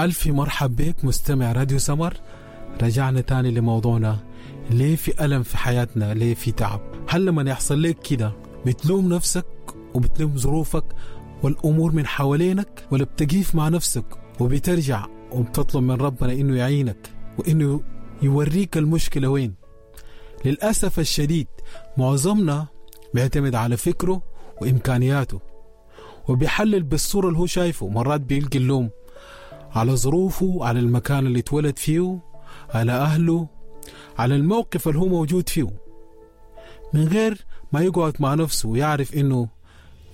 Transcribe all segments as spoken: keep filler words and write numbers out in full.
ألف مرحب بك مستمع راديو سمر. رجعنا تاني لموضوعنا، ليه في ألم في حياتنا؟ ليه في تعب؟ هل لما يحصل لك كده بتلوم نفسك وبتلوم ظروفك والأمور من حوالينك، ولا بتقيف مع نفسك وبترجع وبتطلب من ربنا إنه يعينك وإنه يوريك المشكلة وين؟ للأسف الشديد معظمنا بيعتمد على فكره وإمكانياته وبيحلل بالصورة اللي هو شايفه. مرات بيلقي اللوم على ظروفه، على المكان اللي اتولد فيه، على أهله، على الموقف اللي هو موجود فيه، من غير ما يقعد مع نفسه ويعرف إنه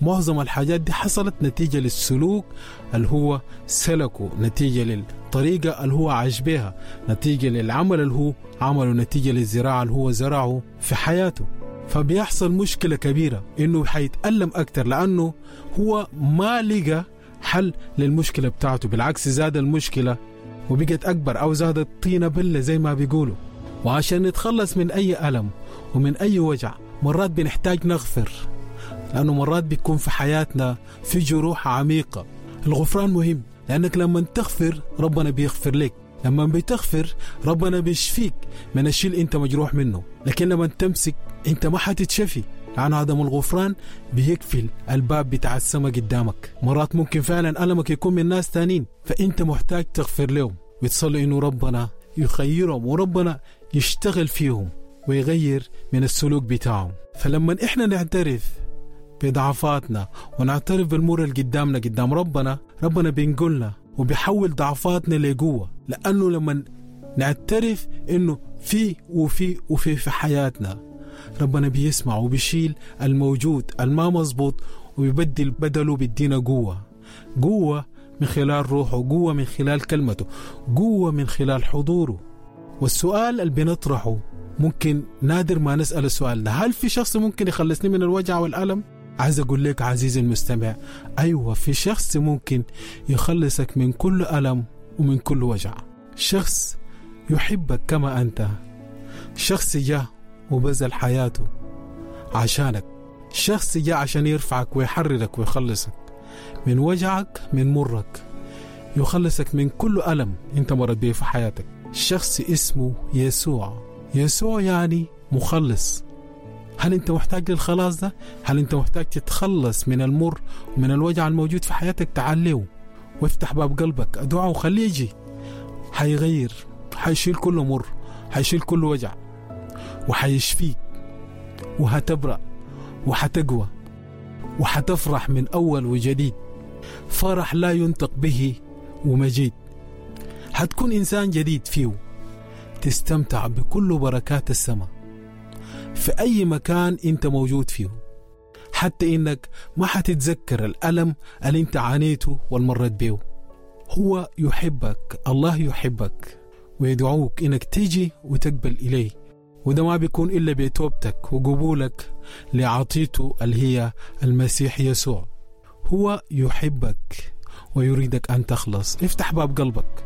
معظم الحاجات دي حصلت نتيجة للسلوك اللي هو سلكه، نتيجة للطريقة اللي هو عاش بها، نتيجة للعمل اللي هو عمله، نتيجة للزراعة اللي هو زرعه في حياته. فبيحصل مشكلة كبيرة إنه حيتألم أكتر لأنه هو ما لقى حل للمشكلة بتاعته، بالعكس زاد المشكلة وبقت أكبر أو زادت طينة بلة زي ما بيقولوا. وعشان نتخلص من أي ألم ومن أي وجع مرات بنحتاج نغفر، لأنه مرات بيكون في حياتنا في جروح عميقة. الغفران مهم، لأنك لما تغفر ربنا بيغفر لك، لما بتغفر ربنا بيشفيك من الشيء اللي انت مجروح منه. لكن لما تمسك انت ما حتتشفي، لأن عدم الغفران بيقفل الباب بتاع السماء قدامك. مرات ممكن فعلا ألمك يكون من ناس تانين، فأنت محتاج تغفر لهم وتصلي إنه ربنا يخيرهم وربنا يشتغل فيهم ويغير من السلوك بتاعهم. فلما إحنا نعترف بضعفاتنا ونعترف بالمور اللي قدامنا قدام ربنا، ربنا بينقلنا وبيحول ضعفاتنا لقوة. لأنه لما نعترف إنه في وفي وفي في حياتنا، ربنا بيسمع وبيشيل الموجود الما مظبوط ويبدل بدله، بيدينا قوة، قوة من خلال روحه، قوة من خلال كلمته، قوة من خلال حضوره. والسؤال اللي بنطرحه ممكن نادر ما نسأل السؤال ده، هل في شخص ممكن يخلصني من الوجع والألم؟ عايز أقول لك عزيزي المستمع، أيوة في شخص ممكن يخلصك من كل ألم ومن كل وجع. شخص يحبك كما أنت، شخص جاء وبذل حياته عشانك، شخص جاء عشان يرفعك ويحررك ويخلصك من وجعك، من مرك، يخلصك من كل ألم أنت مرت به في حياتك. شخص اسمه يسوع. يسوع يعني مخلص. هل أنت محتاج للخلاص ده؟ هل أنت محتاج تتخلص من المر ومن الوجع الموجود في حياتك؟ تعال له وافتح باب قلبك، ادعوه وخليه يجي. حيغير، حيشيل كل مر، حيشيل كل وجع، وحيشفيك، وهتبرأ وحتقوى وحتفرح من أول وجديد، فرح لا ينطق به ومجيد. حتكون إنسان جديد فيه، تستمتع بكل بركات السماء في أي مكان أنت موجود فيه، حتى إنك ما حتتذكر الألم اللي أنت عانيته والمرت به. هو يحبك، الله يحبك ويدعوك إنك تيجي وتقبل إليه، وده ما بيكون إلا بتوبتك وقبولك لعطيته اللي هي المسيح يسوع. هو يحبك ويريدك أن تخلص. افتح باب قلبك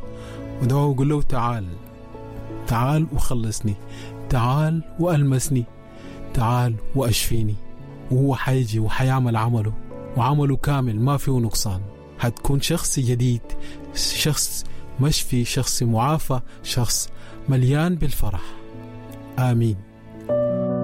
ودعوه وقول له تعال، تعال وخلصني، تعال وألمسني، تعال وأشفيني. وهو حيجي وحيعمل عمله، وعمله كامل ما فيه نقصان. هتكون شخص جديد، شخص مشفي، شخص معافى، شخص مليان بالفرح. آمين.